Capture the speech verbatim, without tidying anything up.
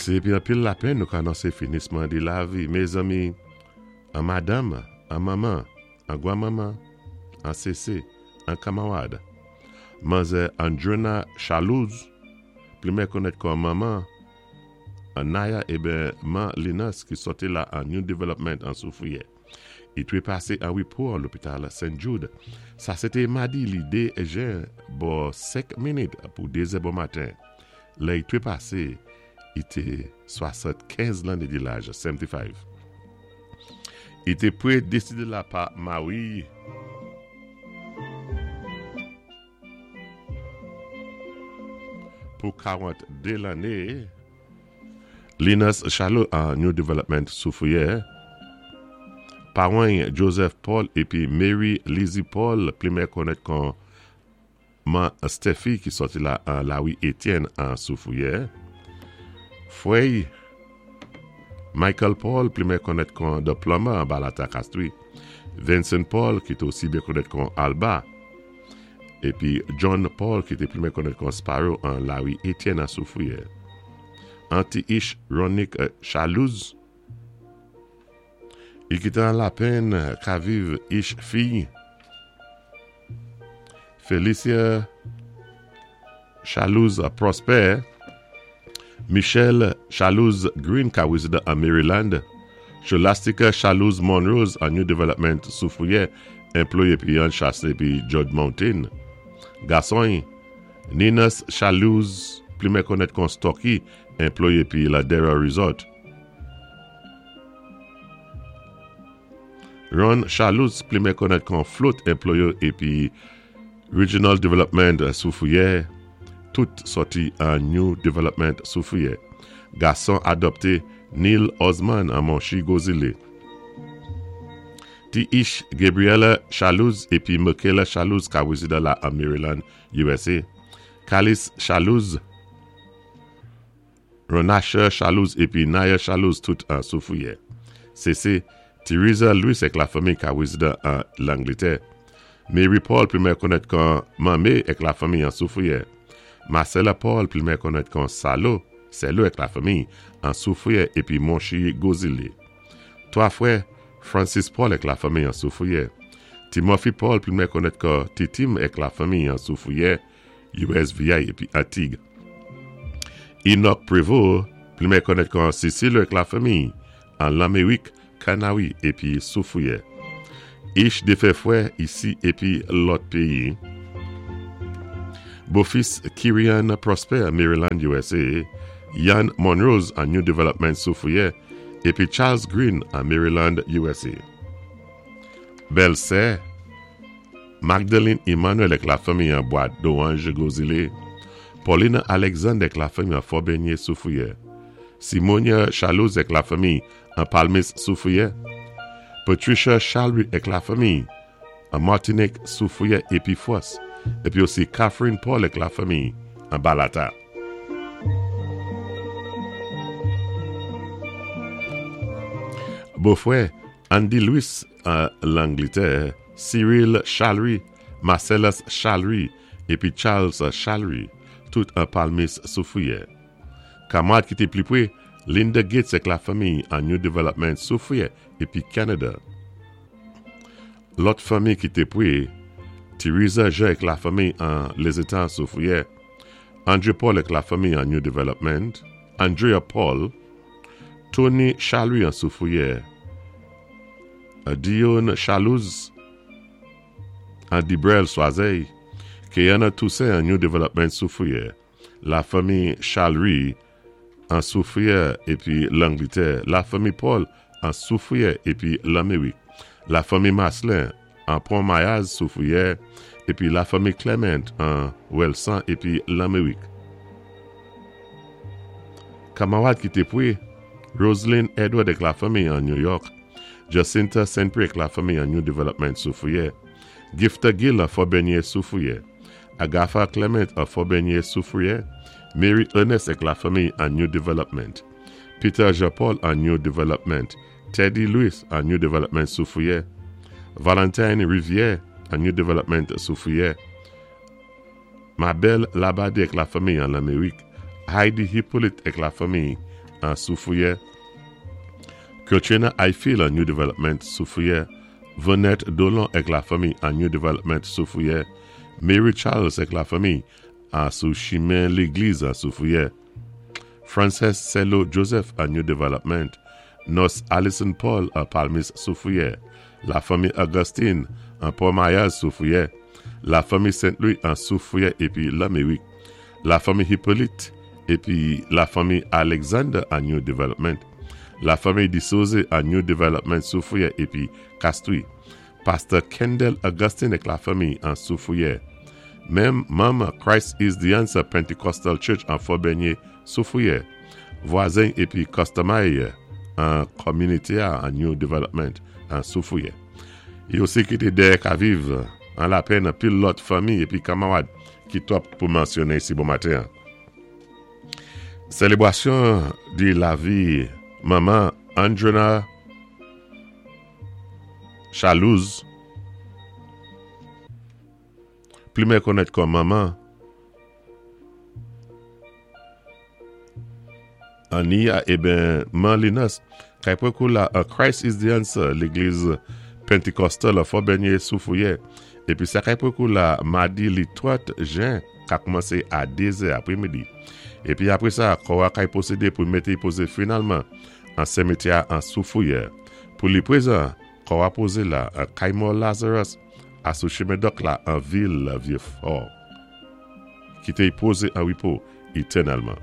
Sé épi anpil lapenn nou ka anonsé finisman di lavi. Mézanmi, an madanm, an manman, an gwanmanman, an sésé, an kanmawad. Manzè Andrena Chalouz, pli konnèt kon manman, an Naya ében man Linus ki sòti la an New Development an Soufrière. I twé pasé an wépo an lopital Saint Jude. Sa sé té madi li dé jen bò senk minit pou dézè bon maten. Lè i twé pasé, i té swasannkenz lanné di laj, seventy-five. I té prédésédé la pa mari pou karanntdé lanné. Linus Chalot an New Development Soufrière. Pawan Joseph Paul épi Mary Lizzie Paul, pli mé konnèt kon man Steffi ki sòti la an Lawi Etienne an Soufrière. Fwè'y Michael Paul, pli mé konnèt kon The Plumber an Balata Castries. Vincent Paul ki té osi byen konnèt kon Alba. Épi John Paul ki té pli mé konnèt kon Sparrow an Lawi Etienne an Soufrière. Anti Ish Ronick Chalouz. I kité an lapenn ka viv ich fiy Felicia Chalouz Prosper, Michelle Chalouz Green ka wézidan an Maryland, Scholastica Chalouz Monrose an New Development Soufrière, anplwayé pi an chasé pi George Mountain. Gason'y Ninas Chalouz, pli mé konnèt kon Stocky, anplwayé pi Ladera Resort. Ron Chalouz, pli mé konnèt kon Float, anplwayé épi Regional Development Soufrière, tout sòti an New Development Soufrière. Gason adopté Neil Osman an Monchi Gozile. Ti Ish Gabriela Chalouz épi Michaela Chalouz ka wézidan la an Maryland, U S A. Kalis Chalouz, Ronasha Chalouz épi Naya Chalouz tout an Soufrière. Sési Teresa Louis èk lafanmi ka wézidan an Langlétè. Mary Paul, pli mé konnèt kon Mamé èk lafanmi an Soufrière. Marcella Paul, pli mé konnèt kon Salo, Selo èk lafanmi an Soufrière épi Monchi Gozile. Twa fwè Francis Paul èk lafanmi an Soufrière. Timothy Paul, pli mé konnèt kon Titim èk lafanmi an Soufrière, U S V I épi Antig. Enoch Prévost, pli mé konnèt kon Cecile èk lafanmi an Lamérik, Kanawi épi Soufrière. Ich défen fwè isi épi lòt péyi. Bofis Kirian Prosper, Maryland, U S A. Yann Monrose an New Development Soufrière épi Charles Green an Maryland, U S A. Bèlsè Magdalene Emmanuel èk lafanmi an Bois d'Orange Gozile. Paulina Alexander èk lafanmi an Fort-Benier Soufrière. Simonia Chalouz èk lafanmi an Palmis Soufrière. Patricia Chalry èk lafanmi an Martinique Soufrière épi Foss. Épi osi Catherine Paul èk lafanmi an Balata. Bofwè Andy Louis an Langlétè, Cyril Chalry, Marcellus Chalry épi Charles Chalry, tout an Palmis Soufrière. Kanmwad ki té pli pwé, Linda Gates èk lafanmi an New Development Soufrière épi Canada. Lòt fanmi ki té pwé, Teresa Jean èk lafanmi an Lézétan Soufrière, André Paul èk lafanmi an New Development, Andrea Paul, Tony Chalry an Soufrière, Dion Chalouz an Dibrel Soiseil, Keyana Toussaint an New Development Soufrière, lafanmi Chalry an Soufrière épi Langlétè, lafanmi Paul an Soufrière épi Lamérik, lafanmi Maslin an Pont Mayaz Soufrière épi lafanmi Clement an Welsan épi Lamérik. Kanmawad ki té pwé, Roselyne Edward èk lafanmi an New York, Jacinta Saint-Pré èk lafanmi an New Development Soufrière, Gifta Gill an Fort-Benier Soufrière, Agatha Clement an Fort-Benier Soufrière, Mary Ernest èk lafanmi an New Development, Peter Jean-Paul an New Development, Teddy Louis an New Development Soufrière, Valentine Rivière an New Development Soufrière, Mabel Labadé èk lafanmi an Lamérik, Heidi Hippolyte èk lafanmi an Soufrière, Katrina Eiffel an New Development Soufrière, Vonette Dolon èk la fanmi an New Development Soufrière, Mary Charles èk la fanmi an sou chimen légliz an Soufrière, Frances Cello Joseph an New Development, Nurse Allison Paul an Palmis Soufrière, la fanmi Augustine an Port-Mayaz Soufrière, la fanmi Saint-Louis an Soufrière épi Lamérik, la fanmi Hippolyte épi la fanmi Alexander an New Development, la fanmi Disose an New Development Soufrière épi Castries, Pasteur Kendall Augustine èk la fanmi an Soufrière, menm manm Christ is the Answer Pentecostal Church an Fort-Bernier Soufrière, vwazen épi customer an kominité an New Development an Soufrière. Yo osi kité dèyè ka viv an lapenn pil lòt fanmi épi kanmarad ki twòp pou mansyoné isi bon maten. Sélébrasyon di lavi manman Andrena Chalouz, pli mé konnèt kòm manman Ania eben man Linus, kay pwé kou la a Christ is the Answer, légliz Pentecostal a Fort-Bernier Soufrière. Épi sa kay pwé kou la madi li trant jen ka koumansé a dé zè apwé midi. Épi apwé sa, kò a kay pwosédé pou mété pozé finalman an simityè an Soufrière. Pou li pwézan, kò a pozé la an Kaymor Lazarus a sou chimen dòk la an vil Vieux-Fort. Kité y pozé an wépo étènèlman.